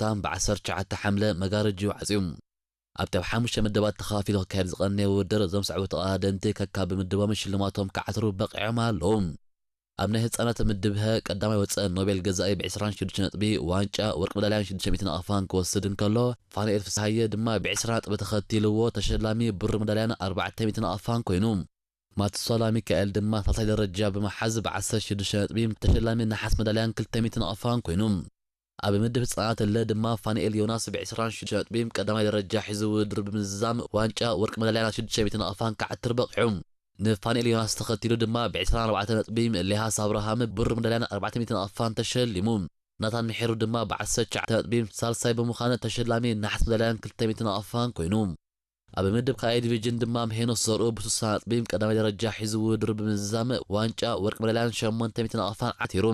ሓታም ብ19 ሓምለ መጋረጅኡ ዓጽዩ። ኣብቲ ኣብ ሓሙሽተ መደባት ተኸፋፊሉ ክካየድ ዝቐነየ ውድድር፣ እዞም ሰዕቡ ተቐዳደምቲ ከካብ ብምድቦም ሽልማቶም ክዓትሩ በቒዖም ኣለዉ። ኣብ ናይ ህጻናት ምድብ ሀ ቀዳማይ ወጸ ኖቤል ገዛኢ ብ26 ነጥቢ ዋንጫ ወርቂ መዳልያን ሽዱሽተ ሚእትን ኣቕፋን ክወስድ እንከሎ፣ ፋንኤል ፍስሃየ ድማ ብ20 ነጥቢ ተኸቲልዎ ተሸላሚ ብሩር መዳልያን ኣርባዕተ ሚእትን ኣቕፋን ኮይኑ። ማትሶላ ሚካኤል ድማ ሳልሳይ ደረጃ ብምሓዝ ብ16 ነጥቢ ተሸላሚ ነሓስ መዳልያን ክልተ ሚእትን ኣቕፋን ኮይኑ። ኣብ ምድብ ህጻናት ለ ድማ ፋንኤል ዮናስ ብ26 ነጥቢ ቀዳማይ ደረጃ ሒዙ ውድድር ብምዝዛም ዋንጫ ወርቂ መዳልያን ሽዱሽተ ሚእትን ኣቕፋን ክዓትር በቒዑ። ንፋንኤል ዮናስ ተኸቲሉ ድማ ብ24 ነጥቢ ሌሃስ ኣብርሃም ብሩር መዳልያን ኣርባዕተ ሚእትን ኣቕፋን ተሸሊሙ። ናታን ምሒሩ ድማ ብ19 ነጥቢ ሳልሳይ ብምዃን ተሸላሚ ነሓስ መዳልያን ክልተ ሚእትን ኣቕፋን ኮይኑ። ኣብ ምድብ ካልኣይ ዲቪዥን ድማ ሄኖስ ዘርኡ ብ60 ነጥቢ ቀዳማይ ደረጃ ሒዙ ውድድሩ ብምዝዛም ዋንጫ ወርቂ መዳልያን ሸሞንተ ሚእትን ኣቕፋን ዓቲሩ።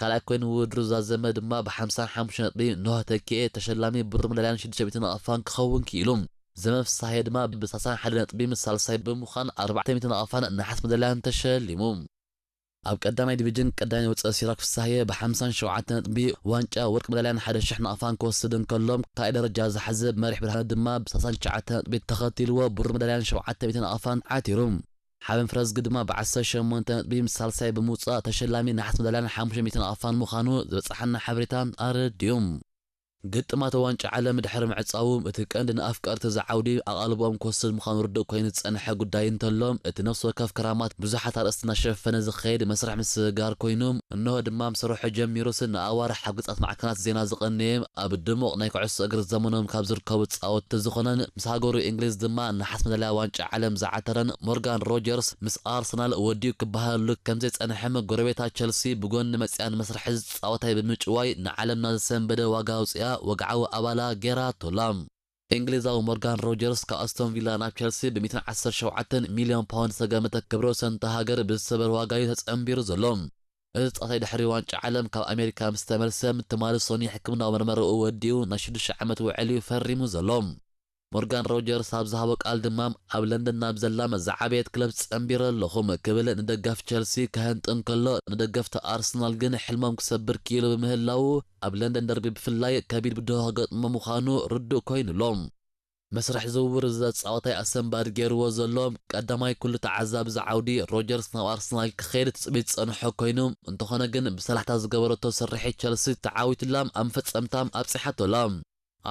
ካልኣይ ኮይኑ ውድድሩ ዛዘመ ድማ ብ55 ነጥቢ ኖህ ተኪኤ ተሸላሚ ብሩር መዳልያን ሽዱሽተ ሚእትን ኣቕፋን ክኸውን ክኢሉ። ዘመ ፍሳሄ ድማ ብ31 ነጥቢ ምስ ሳልሳይ ብምዃን ኣርባዕተ ሚእትን ኣቕፋን ነሓስ መዳልያን ተሸሊሙ። ኣብ ቀዳማይ ዲቪዥን ቀዳማይ ወፀ ሲራክ ፍሳሄ ብ57 ነጥቢ ዋንጫ ወርቂ መዳልያን ሓደ ሽሕ ናቕፋን ክወስድ እንከሎ፣ ካልኣይ ደረጃ ዝሓዘ መሪሕ ብርሃነ ድማ ብ39 ነጥቢ ተኸቲልዎ ብሩር መዳልያን ሸውዓተ ሚእትን ኣቕፋን ዓቲሩ። ሓበን ፍረዝጊ ድማ ብ18 ነጥቢ ምስ ሳልሳይ ብምውፃእ ተሸላሚ ነሓስ መዳልያን ሓሙሽተ ሚእትን ኣቕፋን ምዃኑ ዝበፅሓና ሓበሬታ ኣረዲኡ። ግጥማት ዋንጫ ዓለም ድሕሪ ምዕጻዉ፣ እቲ ቀንዲ ንኣፍቀርቲ እዚ ዓውዲ ኣቓልቦኦም ክወስድ ምዃኑ ርዱእ ኮይኑ ዝጸንሐ ጉዳይ እንተሎ፣ እቲ ነፍሲ ወከፍ ክራማት ብዙሓት ኣርእስቲ እናሸፈነ ዝኸይድ መስርሕ ምስግጋር ኮይኑ፣ እንሆ ድማ ምስ ሰርሖ ጀሚሩስ ንኣዋርሕ ኣብ ገጻት ማዕከናት ዜና ዝቐነየ፣ ኣብ ድሙቕ ናይ ኩዕሶ እግሪ ዘመኖም ካብ ዝርከቡ ተጻወትቲ ዝኾነን ምስ ሃገሩ እንግሊዝ ድማ ነሓስ መዳልያ ዋንጫ ዓለም ዝዓተረን ሞርጋን ሮጀርስ ምስ ኣርሰናል ወዲኡ ክበሃለሉ ከም ዘይጸንሐ፣ ጎረቤታ ቸልሲ ብጎኒ መጽያ ንመስርሕ እዚ ጻወታይ ብምጭዋይ ንዓለምና ዘሰንበደ ዋጋ ኣውጺኣ ወግዓዊ ኣባላ ገይራቶ ኣላ። እንግሊዛዊ ሞርጋን ሮጀርስ ካብ ኣስቶን ቪላ ናብ ቸልሲ ብ117 ሚልዮን ፓውንድ ዝተገመተ ክብረ ወሰን እታ ሃገር ብዝሰበር ዋጋ እዩ ተጸንቢሩ ዘሎ። እዚ ጻወታይ ድሕሪ ዋንጫ ዓለም ካብ ኣሜሪካ ምስ ተመልሰ፣ ትማሊ ሰኑይ ሕክምናዊ መርመራኡ ወዲኡ ናይ ሽዱሽተ ዓመት ውዕል እዩ ፈሪሙ ዘሎ። ሞርጋን ሮጀርስ ኣብ ዝሃቦ ቃል ድማ፣ ኣብ ለንደን ናብ ዘላ ዝዓበየት ክለብ ጸንቢረ ኣለኹ ክብል ንደጋፊ ቸልሲ ከሀንጥን ከሎ፣ ንደገፍቲ ኣርሰናል ግን ሕልሞም ክሰብር ክኢሉ ብምህላዉ፣ ኣብ ለንደን ደርቢ ብፍላይ ከቢድ ብድሆ ክገጥሞ ምዃኑ ርዱእ ኮይኑ ኣሎ። መስርሕ ዝውውር እዚ ጻወታይ ኣሰንባዲ ገይርዎ ዘሎ ቀዳማይ ኩሉ ተዓዛቢ እዚ ዓውዲ፣ ሮጀርስ ናብ ኣርሰናል ክኸይድ ትጽቢት ዝጸንሖ ኮይኑ፣ እንተኾነ ግን ብሰላሕታ ዝገበረቶ ስርሒት ቸልሲ ተዓዊትላ ኣብ መፈጸምታ ኣብጺሓቶ ኣላ።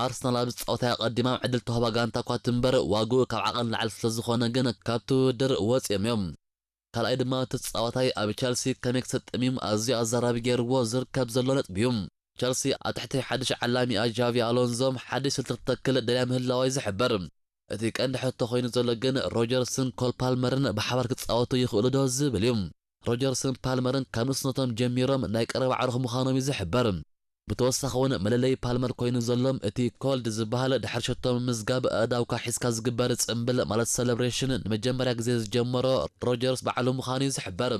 ኣርሰናል ኣብዚ ጸወታ ኣቐዲማ ዕድል ተዋህባ ጋንታ እኳ ትንበር፣ ዋግኡ ካብ ዓቐን ላዕሊ ስለ ዝኾነ ግን ካብቲ ውድድር ወጺኦም እዮም። ካልኣይ ድማ እቲ ተጻዋታይ ኣብ ቸልሲ ከመይ ክሰጥም እዩ ኣዝዩ ኣዛራቢ ገይርዎ ዝርከብ ዘሎ ነጥቢ እዩ። ቸልሲ ኣብ ትሕቲ ሓድሽ ዓላሚኣ ጃቪ ኣሎንዞ ሓድሽ ስልቲ ክትተክል ደልያ ምህላዋ እዩ ዝሕበር። እቲ ቀንዲ ሕቶ ኮይኑ ዘሎ ግን ሮጀርስን ኮል ፓልመርን ብሓባር ክጻወቱ ይኽእሉ ዶ ዝብል እዩ። ሮጀርስን ፓልመርን ካብ ንእስነቶም ጀሚሮም ናይ ቀረባ ኣዕሩኽ ምዃኖም እዩ ዝሕበር። ብተወሳኺ እውን መለለዪ ፓልመር ኮይኑ ዘሎ እቲ ኮልድ ዝበሃል ድሕሪ ሸቶ ምምዝጋብ ኣእዳውካ ሒዝካ ዝግበር ጽምብል ማለት ሰለብሬሽን ንመጀመርያ ግዜ ዝጀመሮ ሮጀርስ ባዕሉ ምዃኑ እዩ ዝሕበር።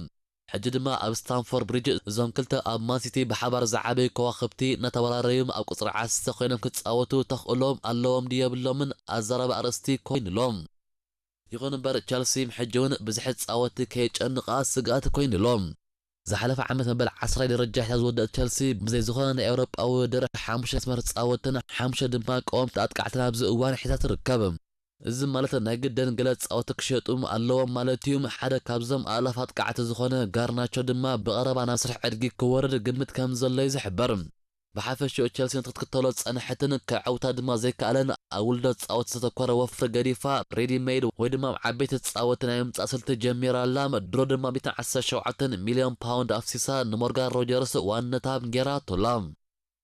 ሕጂ ድማ ኣብ ስታንፎርድ ብሪጅ እዞም ክልተ ኣብ ማንሲቲ ብሓባር ዝዓበዩ ከዋኽብቲ እናተወራረዩ ኣብ ቁጽሪ ዓሰርተ ኮይኖም ክጻወቱ ተኽእሎም ኣለዎም ድዩ የብሎምን ኣዛራቢ ኣርእስቲ ኮይኑ ኣሎ። ይኹን እምበር ቸልሲ ሕጂ እውን ብዙሕ ጻወቲ ከየጨንቓ ስግኣት ኮይኑ ኣሎ። ዝሓለፈ ዓመት መበል ዓስራይ ደረጃ ሒዛ ዝወደአት ቸልሲ ብዘይ ዝኾነ ናይ ኤውሮጳዊ ውድድር ሓሙሽተ መስመር ጻወትን ሓሙሽተ ድማ ቀወምቲ ኣጥቃዕትን ኣብዚ እዋን ሒዛ ትርከብ። እዚ ማለት ናይ ግድን ገለ ጻወቲ ክሸጡ ኣለዎም ማለት እዩ። ሓደ ካብዞም ኣእላፍ ኣጥቃዕቲ ዝኾነ ጋርናቾ ድማ ብቐረባ ናብ ስራሕ ዕድጊ ክወርድ ግምት ከም ዘሎ እዩ ዝሕበር። ብሓፈሽኡ ቸልሲ ነቲ ክትክተሎ ዝጸንሐትን ከዐውታ ድማ ዘይከኣለን ኣብ ውልዶ ጻወቲ ዝተተኮረ ወፍሪ ገዲፋ ሬዲ ሜድ ወይ ድማ ኣብ ዓበይቲ ጻወቲ ናይ ምምጻእ ስልቲ ጀሚራ ኣላ። ድሮ ድማ ሚእትን ዓሰርተ ሸውዓተን ሚልዮን ፓውንድ ኣፍሲሳ ንሞርጋን ሮጀርስ ዋንነታ ገይራቶ ኣላ።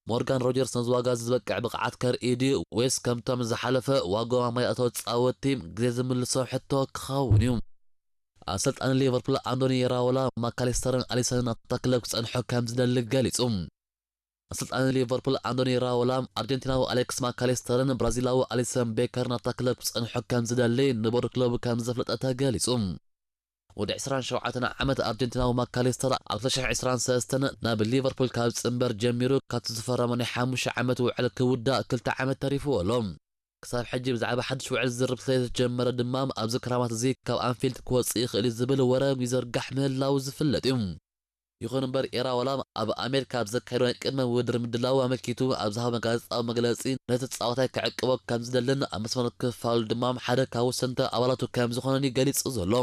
ሞርጋን ሮጀርስ ነዚ ዋጋ እዚ ዝበቅዕ ብቕዓት ከርኢ ድዩ ወይስ ከምቶም ዝሓለፈ ዋግኦም ኣብ ማይ ኣእተዎ ጻወቲ ግዜ ዝምልሶ ሕቶ ክኸውን እዩ? ኣሰልጣኒ ሊቨርፑል ኣንቶኒ ኢራኦላ ማካሊስተርን ኣሊሰንን ኣብታ ክለብ ክጸንሑ ከም ዝደሊ ገሊጹ። ኣሰልጣኒ ሊቨርፑል ኣንቶኒ ኢራኦላ ኣርጀንቲናዊ ኣሌክስ ማካሊስተርን ብራዚላዊ ኣሊሰን ቤከርን ኣብታ ክለብ ክጸንሑ ከም ዝደሊ ንቦርድ ክለቡ ከም ዘፍለጠ ተገሊጹ። ወዲ ዕስራን ሸውዓተን ዓመት ኣርጀንቲናዊ ማካሊስተር ኣብ ክልተ ሽሕ ዕስራን ሰለስተን ናብ ሊቨርፑል ካብ ዝጽንበር ጀሚሩ ካብቲ ዝፈረሞ ናይ ሓሙሽተ ዓመት ውዕል ክውዳእ ክልተ ዓመት ተሪፍዎ ኣሎ። ክሳብ ሕጂ ብዛዕባ ሓድሽ ውዕል ዝርርብ ስለ ዝተጀመረ ድማ ኣብዚ ክራማት እዚ ካብ ኣንፊልድ ክወጽእ ይኽእል እዩ ዝብል ወረ ይዘርጋሕ ምህላዉ ዝፍለጥ እዩ። ይኹን እምበር፣ ኢራኦላ ኣብ ኣሜሪካ ኣብ ዘካየዶ ናይ ቅድመ ውድድር ምድላው ኣመልኪቱ ኣብ ዝሃቦ ጋዜጣዊ መግለጺ፣ ነቲ ጻወታይ ክዕቅቦ ከም ዝደልን ኣብ መስመር ክፋሉ ድማ ሓደ ካብ ወሰንቲ ኣባላቱ ከም ዝኾነን እዩ ገሊጹ ዘሎ።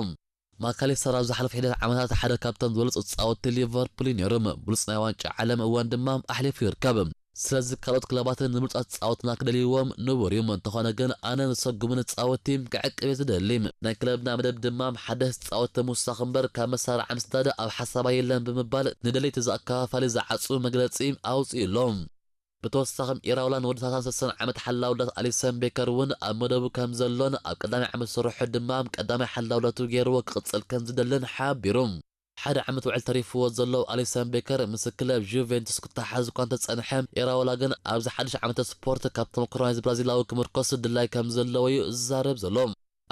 ማካሊስተር ኣብ ዝሓለፈ ሒደት ዓመታት ሓደ ካብቶም ዝበለጹ ጻወቲ ሊቨርፑል እዩ ነይሩ። ብሉጽ ናይ ዋንጫ ዓለም እዋን ድማ ኣሕሊፉ ይርከብ። ስለዚ ካልኦት ክለባትን ንብሉጻት ጻወትና ክደልይዎም ንቡር እዩ። እንተኾነ ግን ኣነ ንሰጉምን ጻወቲ ክዕቅብ እየ ዝደሊ። ናይ ክለብና መደብ ድማ ሓደስ ጻወቲ ምውሳኽ እምበር ካብ መሳርዓ ምስዳድ ኣብ ሓሳባ የለን ብምባል ንደለይቲ ዝኣከፋፋሊ ዝዓጹ መግለጺ ኣውጺኡ ኣሎ። ብተወሳኺ ኢራውላ ንወዲ ሰላሳን ሰለስተን ዓመት ሓላው ዳት ኣሊሰን ቤከር እውን ኣብ መደቡ ከም ዘሎን ኣብ ቀዳማይ ዓመት ስርሑ ድማ ቀዳማይ ሓላው ዳቱ ገይርዎ ክቕጽል ከም ዝደልን ሓቢሩ። ሓደ ዓመት ውዕል ተሪፍዎ ዘሎ ኣሊሰን ቤከር ምስ ክለብ ጁቬንቱስ ክተሓዝ እኳ እንተጸንሐ፣ ኢራውላ ግን ኣብዚ ሓድሽ ዓመተ ስፖርት ካብ ተመክሮ ናይዚ ብራዚላዊ ክምርኮስ ድላይ ከም ዘለዎ እዩ ዝዛረብ ዘሎ።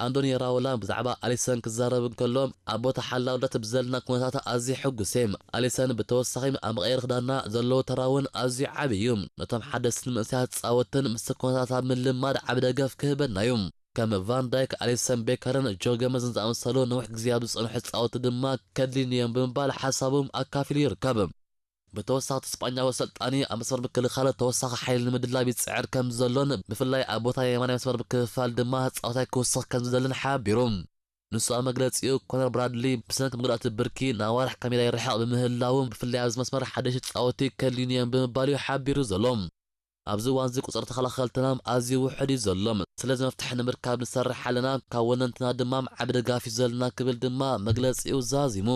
ኣንዶኒ ራውላ ብዛዕባ ኣሊሰን ክዛረብ እንከሎ፣ ኣብ ቦታ ሓላውነት ብዘለና ኩነታት ኣዝየ ሕጉስ እየ። ኣሊሰን ብተወሳኺ ኣብ መቐየሪ ክዳና ዘለዎ ተራ እውን ኣዝዩ ዓቢ እዩ። ነቶም ሓደስትን መንእሰያት ጻወትን ምስቲ ኩነታት ኣብ ምልማድ ዓቢ ደገፍ ክህበና እዩ። ከም ቫን ዳይክ፣ ኣሊሰን ቤከርን ጆ ገመዝን ዝኣመሰሉ ነዊሕ ግዜ ኣብ ዝጸንሑ ጻወቲ ድማ ከድልዩኒ እዮም ብምባል ሓሳቦም ኣካፊሉ ይርከብ። ብተወሳኺ እቲ ስጳኛዊ ኣሰልጣኒ ኣብ መስመር ምክልኻል ተወሳኺ ሓይሊ ንምድላብ ይጽዕር ከም ዘሎን ብፍላይ ኣብ ቦታ የማናይ መስመር ምክፍፋል ድማ ጻወታይ ክውስኽ ከም ዝደልን ሓቢሩ። ንሱ ኣብ መግለጺኡ፣ ኮነር ብራድሊ ብሰንኪ መጉዳእቲ ብርኪ ንኣዋርሕ ካብ ሜዳ ይርሕቕ ብምህላዉ፣ ብፍላይ ኣብዚ መስመር ሓደሽቲ ጻወቲ ከድልዩኒ እዮም ብምባል እዩ ሓቢሩ ዘሎ። ኣብዚ እዋን እዚ ቁጽሪ ተኸላኸልትና ኣዝዩ ውሑድ እዩ ዘሎ። ስለዚ መፍትሒ ንምርካብ ንሰርሕ ኣለና። ካብ ወነንትና ድማ ዓቢ ድጋፍ እዩ ዘለና ክብል ድማ መግለጺኡ ዛዚሙ።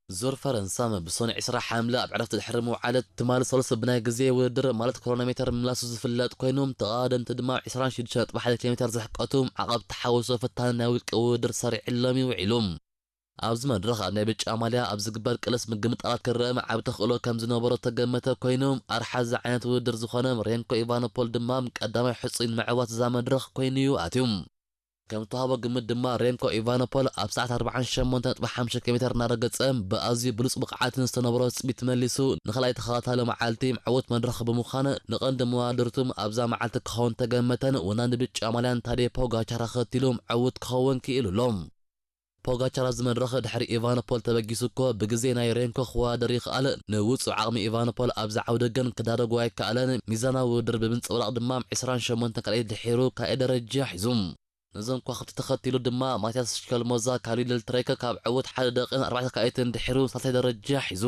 ዙር ፈረንሳ ብሰኑይ ዕስራ ሓምለ ኣብ ዕረፍቲ ድሕሪ ምውዓል፣ ትማሊ ሰሉስ ብናይ ግዜ ውድድር ማለት ክሮኖሜተር ምምላሱ ዝፍለጥ ኮይኑ፣ ተቐዳደምቲ ድማ ዕስራን ሽዱሽተን ነጥቢ ሓደ ኪሎ ሜተር ዝሕቀቱ ዓቐብ ተሓውሶ ፈታኒ ናይ ውልቂ ውድድር ሰሪዕሎም ይውዒሉ። ኣብዚ መድረኽ ኣብ ናይ ብጫ ማልያ ኣብ ዝግበር ቅልስ ምግምጣላት ክረአ ዓቢ ተኽእሎ ከም ዝነበሮ ተገመተ ኮይኑ፣ ኣርሓ እዚ ዓይነት ውድድር ዝኾነ ሬንኮ ኢቫኖፖል ድማ ቀዳማይ ሕጹይ ንምዕዋት እዛ መድረኽ ኮይኑ እዩ ኣትዩ። ከም ዝተዋህቦ ግምት ድማ ሬንኮ ኢቫኖፖል ኣብ ሰዓት ኣርባዓን ሸሞንተን ነጥቢ ሓሙሽተ ኪሎ ሜተር እናረገጸ ብኣዝዩ ብሉጽ ብቕዓትን ዝተነበሮ ትጽቢት መሊሱ ንኻልኣይ ተኸታታሊ መዓልቲ ዕዉት መድረኽ ብምዃን ንቐንዲ መዋድርቱ ኣብዛ መዓልቲ ክኸውን ተገመተን ወናኒ ብጫ ማልያን ታዴ ፖጋቻር ኣኸቲሉ ዕዉት ክኸውን ክኢሉ ኣሎ። ፖጋቻር ኣብዚ መድረኽ ድሕሪ ኢቫኖፖል ተበጊሱ እኮ ብግዜ ናይ ሬንኮ ክወዳደር ይኽኣል። ንውጹእ ዓቕሚ ኢቫኖፖል ኣብዚ ዓውዲ ግን ክዳረጎ ኣይከኣለን። ሚዛናዊ ውድድር ብምንጽብራቕ ድማ ዕስራን ሸሞንተን ካልኣይ ድሒሩ ካልኣይ ደረጃ ሒዙ። ነዞም ከዋኽብቲ ተኸቲሉ ድማ ማቲያስ ሽከልሞዛ ካብ ሊድል ትሬክ ካብ ዕዉት ሓደ ደቂቕን ኣርባዕተ ካልኣይትን ድሒሩ ሳልሳይ ደረጃ ሒዙ።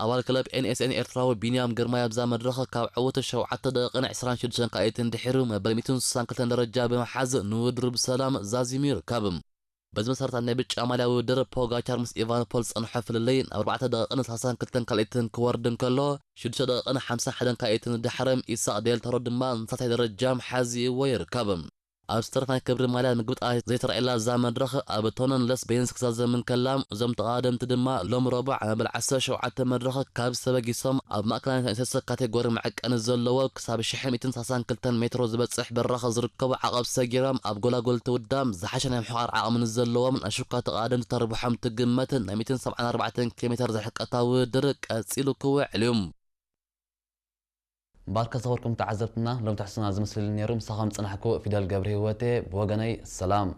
ኣባል ክለብ ኤን ኤስ ኤን ኤርትራዊ ቢንያም ግርማይ ኣብዛ መድረኽ ካብ ዕዉት ሸውዓተ ደቂቕን ዕስራን ሽዱሽተን ካልኣይትን ድሒሩ መበል ሚእትን ስሳን ክልተን ደረጃ ብምሓዝ ንውድድሩ ብሰላም ዛዚሙ ይርከብ። በዚ መሰረት ኣብ ናይ ብጫ ማልያ ውድድር ፖጋቻር ምስ ኢቫኖፖል ዝጸንሖ ፍልልይ ናብ ኣርባዕተ ደቂቕን ሰላሳን ክልተን ካልኣይትን ክወርድ እንከሎ፣ ሽዱሽተ ደቂቕን ሓምሳን ሓደን ካልኣይትን ድሕሪ ኢሳቕ ዴል ቶሮ ድማ ንሳልሳይ ደረጃ ሓዚእዎ ይርከብ። ኣብ ዝተረፍ ናይ ክብሪ ማልያ ምግምጣላት ዘይተራእየላ እዛ መድረኽ ኣብ ቶነን ለስ ቤንስ ክዛዘም እንከላ፣ እዞም ተቐዳደምቲ ድማ ሎም ረቡዕ ኣብ መበል ዓሰርተ ሸውዓተ መድረኽ ካብ ዝተበጊሶም ኣብ ማእከላይ ናይ ሰለስተ ካቴጎሪ መዐቀኒ ዘለዎ ክሳብ ሽሕ ሚእትን ሰላሳን ክልተን ሜትሮ ዝበጽሕ በራኽ ዝርከቡ ዓቐብ ሰጊሮም ኣብ ጎላጎል ትውዳም ዝሓሸ ናይ ምሕቓር ዓቕሚ ንዘለዎም ኣሽኳ ተቐዳደምቲ ተርብሖም ትግመት ናይ ሚእትን ሰብዓን ኣርባዕተን ኪሎ ሜተር ዝሕቀታ ውድድር ቀጺሉ ክውዕል እዩ። ባርከ ዝኸበርኩም ተዓዘብትና፣ ሎም ትሕስና ዝመስል ነይሩ። ምሳኹም ዝጸናሕኩ ፊደል ገብረ ህይወቴ። ብወገነይ ሰላም።